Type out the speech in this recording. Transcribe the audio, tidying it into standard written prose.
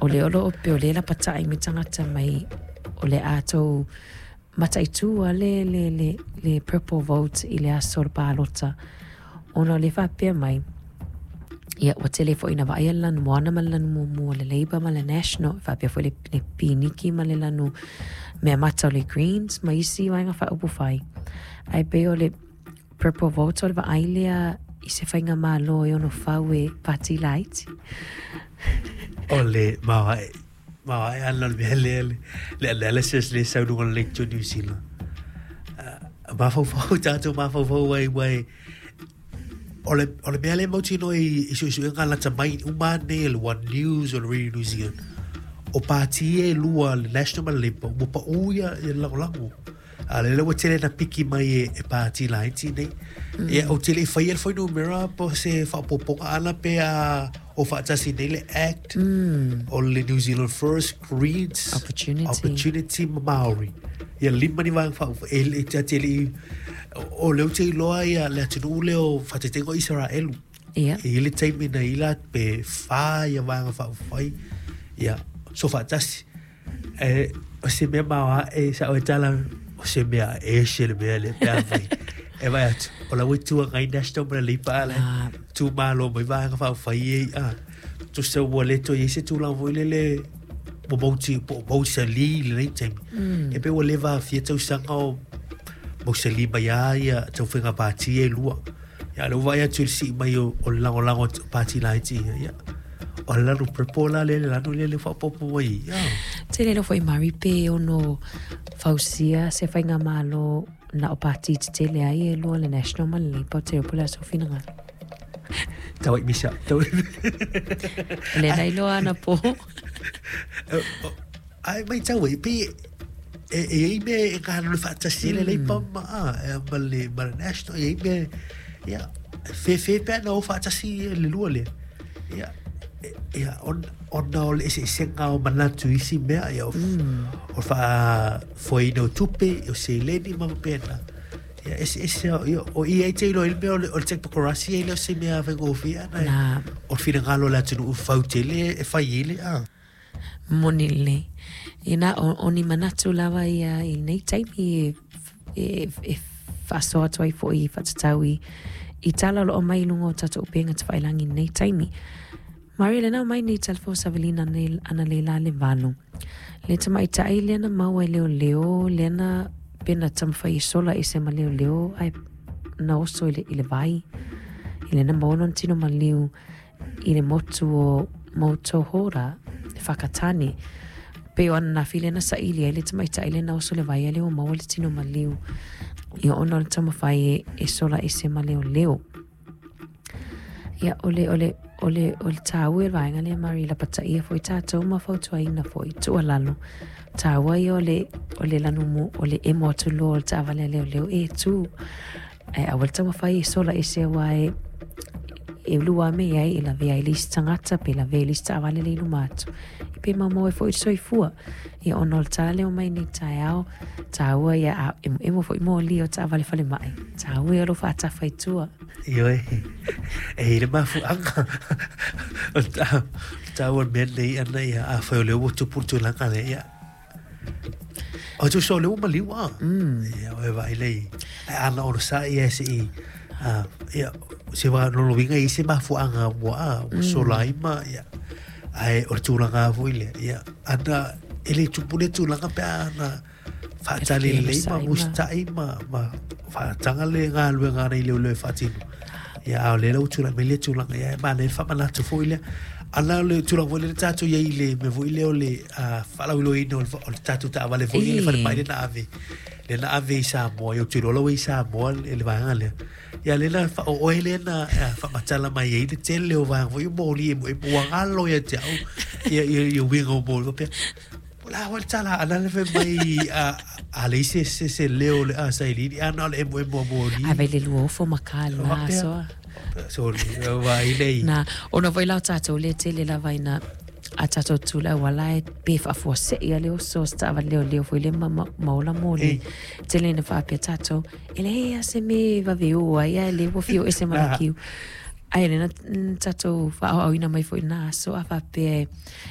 O lea o lo o pei o lea e lapatai mai tagata mai o le a tou mataitu a le, le, le, le purple vote i le aso o le palota ona o lea e faapea mai, ia, ua tele foi ina vaaia le lanu moana ma le lanu mumu o le Labour ma le National, e faapea foi le, le piniki ma le lanu mea mata o le Greens ma isi vaega faaupufai. Ae pei o le purple vote o le vaai lea i se faigamalo e ono fau e pati laiti. O le maoae, maoae ana o le mea lea, le, le analysis lea sau luga o le Leitio New Zealand. Uh, mafaufau tātou mafaufau ai wai o le, o le mea lea mautinoa i, i suesuega lata mai uma nei le One News o le Radio New Zealand o pāti e lua le National ma le Labour ua paʻū ia, ia lagolago. A lele ua tele na piki mai e, e pāti laiti nei. Mm. Ia, ou te le i faia le fuainumera po se faaopoopoga ana pe a o faatasi nei le Act mm. o le New Zealand First Greens Opportunity, Opportunity ma Māori. Ia lima ni vaega faa e, e, te te le i o leo te iloa ia le atunuu lea o faataitaiga o Isaraelu. Ia. E i le taimi na ila pe whā ia vaega faaupufai ia so faatasi. E, o se mea maoae sa oe tala, o se mea ese le mea lea pe a fai. E vaai atu, o la ua Itu Agai National ma le Leipa a le Ah. tu malo mai vaega faaupufai e a. Tusa ua le toe i ai se tulaga foi lele ua mauti, po o mausali i lenei taimi. Mm. E pei ua leva fia tausaga o mausali mai lava ia tau faiga pāti e lua. Ia, lea ua vaai atu i le sii mai o, o le lagolago o pāti laiti ia, ia. O le lanu purple la lea, le lanu lea le faaopoopo mai, ia. Tele loa foi Mari pe ono fausia se faigamalo na o pāti tetele ai e lua le National ma le Labour, te iloa po o le a sou finagalo. Tau ai misa. Tau ai. Le na iloa anapo. Ai mai tau ai, pe e, e i mea e galulue faatasi ai le Labour ma, a, e, ma le, ma le National, e i mea, ia, fefe pe ana o faatasi le lua lea. Ia, e, ia, on, ona o le eseesega o manatu i isi mea, ia, o, mm. o faafoeina o tupe, o seleni ma faapena. Ia, eseese, ia, o i ai te iloa i le mea o le, o le teknokorasi e le o se mea faigofie ana, Nā. o le finagalo o le atunuu fau tele e fai ai le, a. Moni lelei. Inā o, o ni manatu lava ia i lenei taimi e, e, e faasoa atu ai foi i faatatau i, i tala o lo o mai i luga o tatou upega tafailagi i lenei taimi. Maria, lena ua mai nei tala fou savalina nei analeila le 8. Le tamaitai lea na maua e leoleo, lea na pe na taumafai e sola ese ma leoleo ae na oso i le, i le vai. I lea na maua lona tino maliu i le motu o Moutohora, Whakatane. Pei o ananafi lea na saili ai le tamaitai lea na oso le vai a lea ua maua le tino maliu ia ona o le taumafai e, e sola ese ma leoleo. Ia, o le, o le, o le, o le tāua o le vaega lea, Mari, lapataia foi tātou ma fautuaina foi, tuualalo. Tāua ia o le, o le lanumu, o le emo atu loa o le taavale a leoleo e tū. Ae aua le taumafai e sola ese aua e, e ulu a me ai e lavea ai le isi tagata pe lavea i le isi taavale lea i luma atu. E pe maumau ai foi le soifua. Ia ona o le tala lea ua mai nei taeao, tāua ia a emoemo foi moli o taavale falemai. Tāua ia o lo faatafa i tua. Ioe, e i le mafuaaga o le tāua o le mea lenei ana ia, afai o lea ua tupu le tulaga lea, ia, O tusa o lea ua maliu a. Mm. Ia, o e vaai lei. Ai ana onosai ia se i, uh, ia, se wā lolo winga i se mafuaanga ua a, ua mm. sola ai ma, ia. Ai, o le tulaga foi lea, ia. Ana, e le tupu le tulaga pe ana whaatali lelei ma musitai ma, ma whaatanga le galuega ana i leoleo e faatino. Ia, a o lea la ua tulai mai lea tulaga, ia, e manaia le faamanatu foi lea. Ana o le tulaga foi lea na tatou i ai i le mea foi lea o le faalauiloaina o le, o le tatou taavale foi i le falemai lea na ave, lea na ave i Samoa, ia ou te iloa la ua i Samoa le, le vaega lea. Ia lea na o oe lea na faamatala mai ai le tele o vaega foi o moli e, e ua galo ia te au ia, ia, ia uiga o moli faapea. O le a foi le tala ana le fai mai a, a leai se, se, se leo o le a sailiili, a na o le emoemo o moli. Ae vai le lua ofo ma ka le na asoa. Sorry, vaai lei. Na, ona foi la o tatou lea tele lava ina a tatou tu le auala e pe faafuasei a le oso o se taavale leoleo foi le ma, ma, ma ola moli. Tele ina faapea tatou, e leai a se me e vave o ai ae le ua fia o ese ma le kiu. Ae lea na tatou faaauauina mai foi na aso a faapea e,